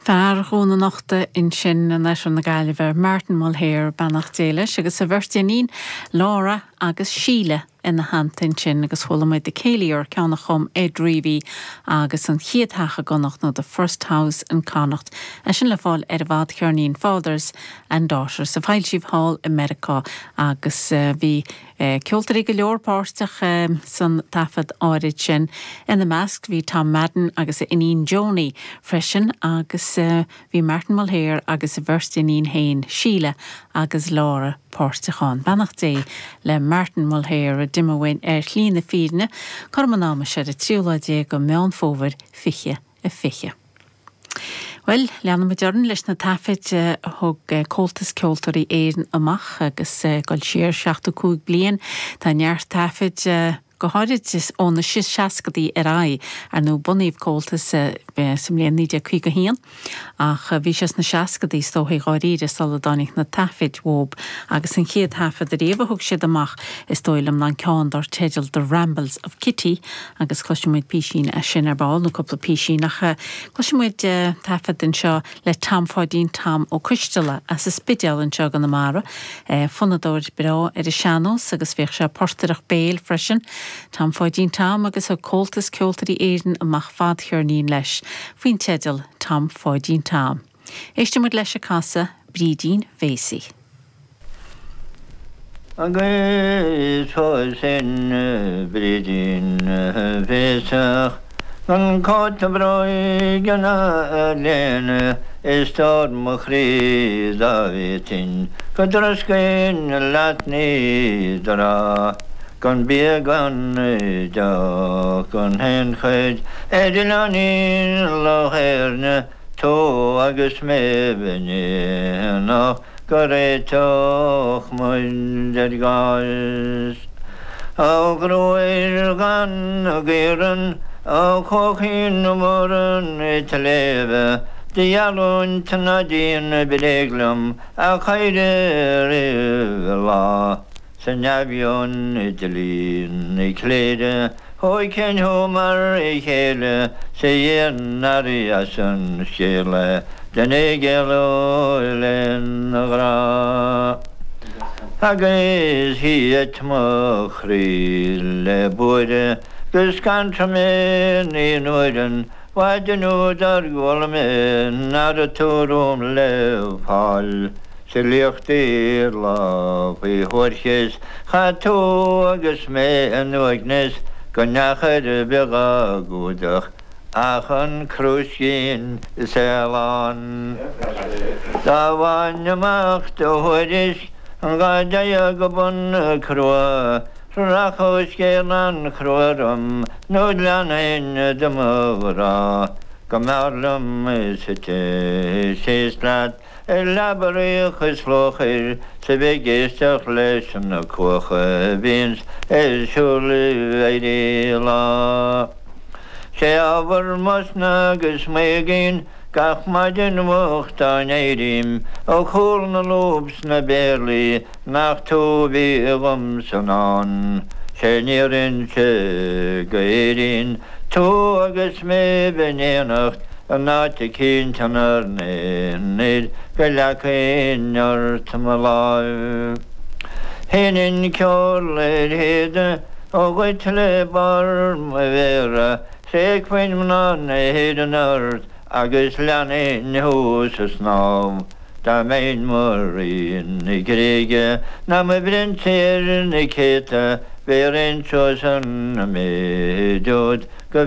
Fear Dhún an Uchta ansin in oirthear na Gaillimhe, Martin Mulhare, beannacht Dé leis, agus a bheirt iníon, Laura agus Síle ina theannta ansin agus chuala muid The Céilí Or, ceann a chum Ed Reavy agus An Chéad Theach i gConnacht nó The First House in Connacht, é sin le fáil ar an bhfadcheirnín Fathers and Daughters a foilsíodh thall i Meiriceá agus bhí Ceoltóirí go leor páirteach san taifead áirid sin. Ina measc bhí Tom Madden agus a iníon Joni freisin agus bhí Martin Mulhare agus a bheirt iníon féin, Síle agus Laura páirteach ann. Beannacht Dé le Martin Mulhare a d'imigh uainn ar shlí na fírinne cothrom an ama seo ar an tríú lá déag de Mheán Fómhair 2020. Bhuel, leanfaidh muid orainn leis na taifid a thug Comhaltas Ceoltóirí Éireann amach agus ag dul siar 75 bliain. Tá neart taifid, go háirid ó na seascadaí ar aghaidh. Ar ndóigh, bunaíodh Comhaltas sa mbliain 1951 ach bhí sé sna seascadaí, is dóigh, dháiríre, sula dtáinig na taifid uathu. Agus an chéad thaifead ariamh a thug siad amach, is dóigh liom, ná an ceann dar teideal The Rambles of Kitty agus cloisfidh muid písín as sin ar ball, nó cúpla písín, ach cloisfidh muid taifead anseo le Tom Pháidín Tom Ó Coisteala as an Spidéal anseo i gConamara, fonnadóir breá ar an sean-nós agus bhíodh sé ag portaireacht béil freisin. Tom Pháidín Tom agus thug Comhaltas Ceoltóirí Éireann amach fadcheirnín leis faoin teideal Tom Pháidín Tom. Éistfidh muid leis ag casadh Brídín Mhéasaí. Agus phósfainn Brídín Bhéasach gan cóta bróige ná léine is stór mo chroí dá bhféadfainn go dtroscfainn leat ní do rá gan bia gan deoch gan aon chuid ar oileáinín Loch Éirne tú agus mé in éineacht go réiteodh muid ar gcás. A ghruaig dhonn na gcaoran, a chuachaí na mborann i tsléibhe, do gheallúint ná déan bréag liom, a chaoire roimh a lá. Sa neamh-mheon i dlí na cléire, thógfainn thú mar chéile 's a Dhia nár dheas an scéal é duine ag éalú lena ghrá. Agus thit mo chroí le buaire go scanraigh mé naoi n-uaire an mhaidin úd ar chuala mé ná raibh tú romham le fáil. Sa liacht lá faoi thoirchis chaith tú agus mé in uaigneas gan neach ar bith dhá gcumhdach ach an crúiscín is ealán. Dá bhfaighinn amach do thuairisc dhá dteigheadh go bun na crua rachadh scéal an-chrua orm nó leanfainn de mo ghrá go mb'fhearr liom suite síos leat Ar leaba fhraoich is luachair 's a bheith ag éisteacht leis na cuacha a bhíonns ar siúl ag éirí lá. 'Sé ábhar m'osna agus m'éagaoin gach maidin mhoch dá n-éirím ó chúl na lúb 's na bpéarlaí nach tú a bhí dhom san ndán. 'Sé an fhírinne go Éirinn Tú agus mé bheith in éineacht in áit eicínt inár n-aonar go leagfainn ort mo láimh. Sheinnfinn ceol ar théada dhuit le barr mo mhéara, thréigfinn mná na hÉireann ort agus leanfainn thú sa snámh. Dá mbeinn mo rí na Gréige ná mo phrionsa ar na céadta, bhéarfainn suas an méid úd go.